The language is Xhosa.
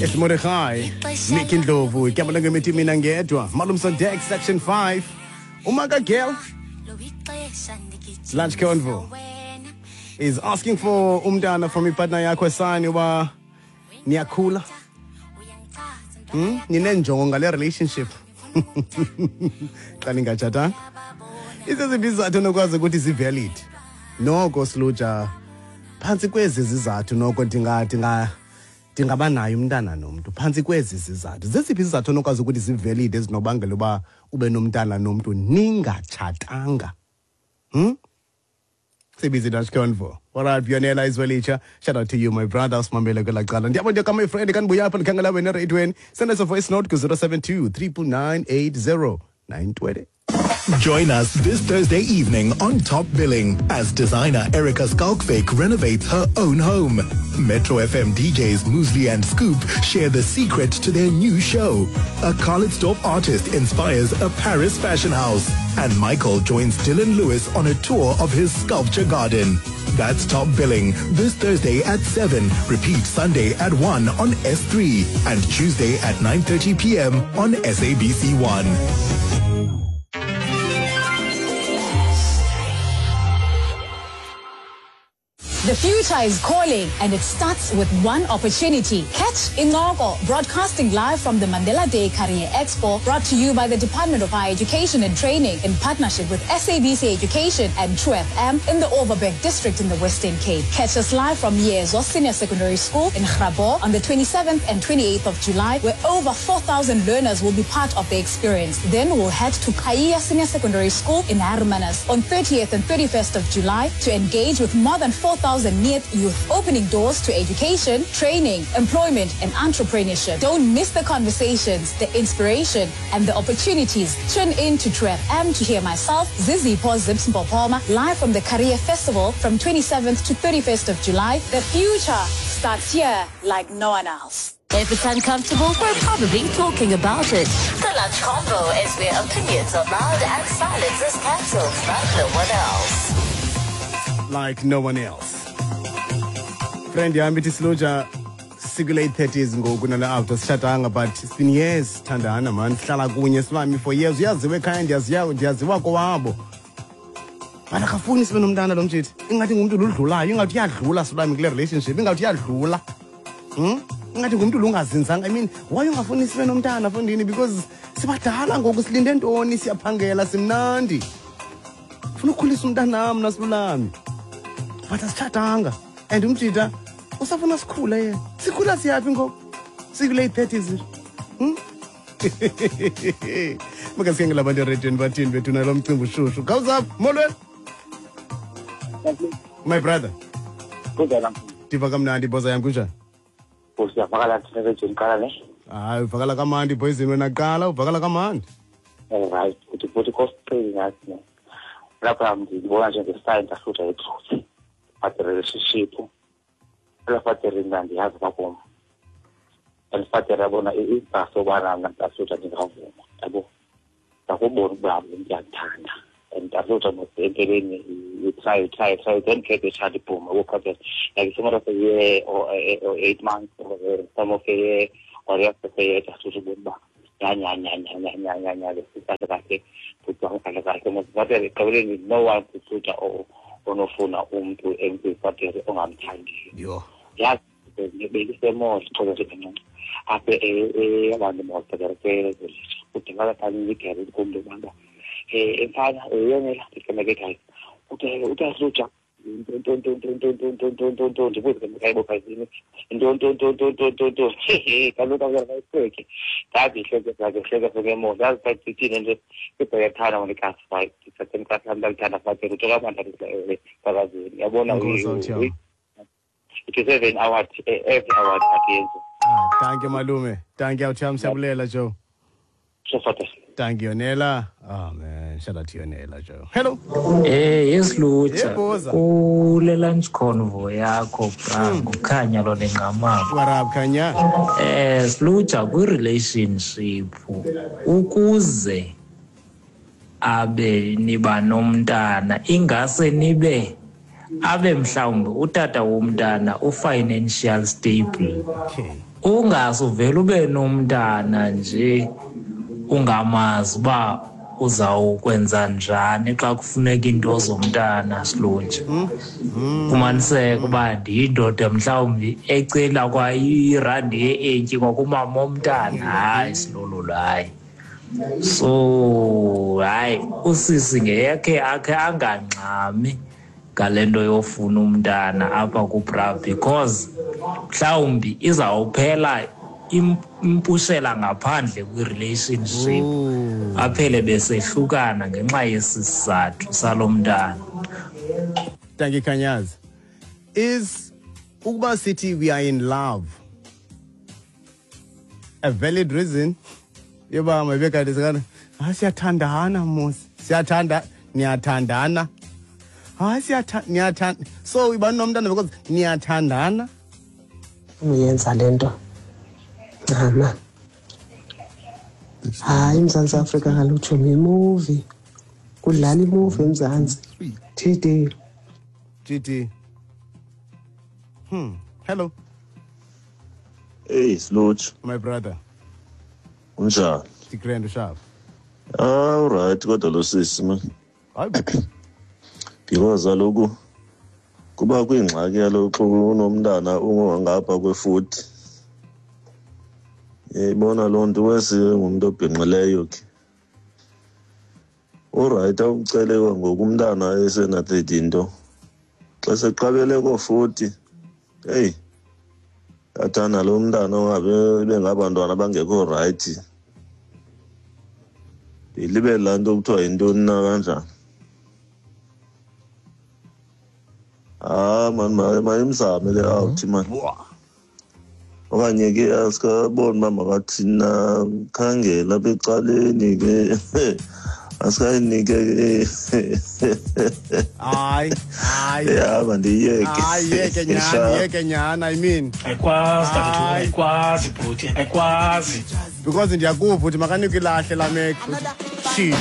It's Mordechai, Mickey Ndlovu, Kyamalanga Mithi Mina Ngedwa, Malum Sondek, Section 5, Umaga Girl Lunch Convo is asking for umntana from ipartner yakho esani uba niyakhula. Ninenjongo ngale relationship. Xa ningatshatanga. Izeziphi izizathu onokwazi ukuthi zi-valid? Noko Siluja, phantsi kwezi zizathu noko ndingaba naye umntana nomntu phantsi kwezi zizathu. Zeziphi izizathu onokwazi ukuthi zi-valid ezinobangela uba ube nomntana nomntu ningatshatanga? Sibizi Dutch Convo. All right, Bionela Izwelitsha. Shout out to you, my brother. Simamele kwela cala. Ndiyabona ke my friend kandibuya apha ndikhangela wena ereyidweni. Send us a voice note ku 072 999 80 920. Join us this Thursday evening on Top Billing as designer Erica Skalkvik renovates her own home. Metro FM DJs Musli and Scoop share the secret to their new show. A Calitzdorp artist inspires a Paris fashion house. And Michael joins Dylan Lewis on a tour of his sculpture garden. That's Top Billing this Thursday at 7. Repeat Sunday at 1 on S3 and Tuesday at 9:30 p.m. on SABC1. The future is calling, and it starts with one opportunity. Catch Incoko, broadcasting live from the Mandela Day Career Expo, brought to you by the Department of Higher Education and Training in partnership with SABC Education and True FM in the Overberg District in the Western Cape. Catch us live from Yezo Senior Secondary School in Grabouw on the 27th and 28th of July, where over 4,000 learners will be part of the experience. Then we'll head to Kaya Senior Secondary School in Hermanus on 30th and 31st of July to engage with more than 4,000 NEET youth, opening doors to education, training, employment, and entrepreneurship. Don't miss the conversations, the inspiration, and the opportunities. Tune in to True FM to hear myself, Zizi Zips Mpopoma, live from the Career Festival from 27th to 31st of July. The future starts here like no one else. If it's uncomfortable, we're probably talking about it. The Lunch Convo is where opinions are loud and silence is cancelled like no one else. Like no one else. Friend yami ithi Siluja siku-late 30s ngoku nala after sitshatanga, but it's been years sithandana, man. Sihlala kunye silami for years. Uyaziwa ekhaya, ndiyaziwa kowabo. But akafuni sibe nomntana lo mtshithi. Ingathi ngumntu ludlulayo, ingathi uyadlula silami kule relationship, ingathi uyadlula. Ingathi ngumntu lungazinzanga. I mean, why ungafuni sibe nomntana fondini? Because sibadala ngoku, silinde ntoni, siyaphangela, simnandi. Funa ukukhulisa umntanam nasilulami. But asitshatanga. And umjita usafuna sikhule yena. Sikhula siyaphi ngoku? Siku-late 30s. Makasike abantu erediyweni bathini bethu nalo mcimbi ushushu. Khawuzapha, molweni. My brother. Kunjani? Ndiva kamnandi boza yam, kunjani? Usiyavakala thina ereyidweni qala ne? Hayi, uvakala kamandi boyizini wena kuqala, uvakala kamandi. Right, uthi futhi kosiqili ngathi ne. Lapha ndibona njenge-sign ndahlutha i-truth. But the relationship, ela father mna ndiyazi uba kum. And father yabona ibhasi yobana mna ndahlutha ndingavuma, yabo. Ndakubona ukuba lo mntu uyandithanda. And ndahlutha empeleni you try, you try, you try, you don't get the child boom. Yabo, father, like some of a year or 8 months or some of a year or the rest of a year, ndahlutha ubona uba nya nya nya nya nya nya nya nya kahle kahle futhi kahle kahle father ekugqibeleni no one kuhlutha onofuna umntu emntwini father ongamthandiyo. Yho. Yazi bendisemall xolo nje kancinci apha abantu mall father kwezolitsha kudingakala phana igere kumntu ubana mfana yonela ndicemeke ekhaya utahluja ntontontontontontontontontonto ndibuze ke mkayibo phazini ntontontontontontonto kaloku akuyaqhubeke ndazi ihleke zakhe hleke hleke mo ndazi sathithini nje ibhekathana ngolikazi fight ndithathe mkasi lam ndalithanda father utsho kamandi sakazini yabona Enkosi, Awuthi. It is seven award every award akuyenza. Ah, thank you malume. Thank you awuthi siyabulela Joe. So father. Thank you Nela. Oh man, shout out to you Nela Joe. Hello. Yes Lucha. Yebo, Kule lunch convo yakho bra ngukhanya lo nengqamako. What up Khanya? Lucha kwi relationship ukuze abe niba nomntana ingase nibe abe mhlawumbe utata womntana u-financial stable. Okay. Ungasuvele ube nomntana nje ungamazi uba uzawukwenza njani xa kufuneka iinto zomntana, Silunje. Fumaniseke uba ndiyindoda mhlawumbi ecela kwa irandi ye-80 kwakumama omntana. Hayi, Silululo, hayi. So hayi, usisi ngeyakhe akhe angangxami ngale nto yofuna umntana apha kubra, because mhlawumbi izawuphela impushela ngaphandle kwi-relationship, aphele besehlukana ngenxa yesi sizathu salo mntana. Thank you, Kanyazi. Is ukuba sithi we are in love a valid reason yoba mayibe kanti sikana, hayi, siyathandana mos, siyathanda, niyathandana, hayi, niyathanda, so iba nomntana because niyathandana? Uyenza le nto, ncama. Hayi, iMzantsi Afrika kaloku, tshomi, yimuvi, kudlala imuvi eMzantsi. TD. GT. Hello. Hey, Sluch. My brother. Unjani? Ndigrand, usharp. Ah, right, kodwa lo sisi, man. Hayi. Because kaloku kuba kwingxaki kaloku xa unomntana ungangapha kwe-40. Uyayibona loo nto, wesi ngumntu obhinqileyo ke. Uright, awucele ngoku umntana esena-30 nto. Xa seqabele ko-40, heyi, yathanda lo mntana ungabe bengabantwana abangekho right. Ndilibele laa nto kuthiwa yintoni na kanjani. Ah man, mayimzame le out, man. Okanye ke asikaboni uba makathini na, khangela apha ecaleni ke, asikayinike ke. Hayi, hayi. Ya, mandiyeke. Hayi, yeke nyhani, yeke nyhani, I mean. Ayikwazi, tathu. Hayi. Ayikwazi, bhuti, ayikwazi. Because ndiyakuva uthi makanikwe ilahle la mek. Shit.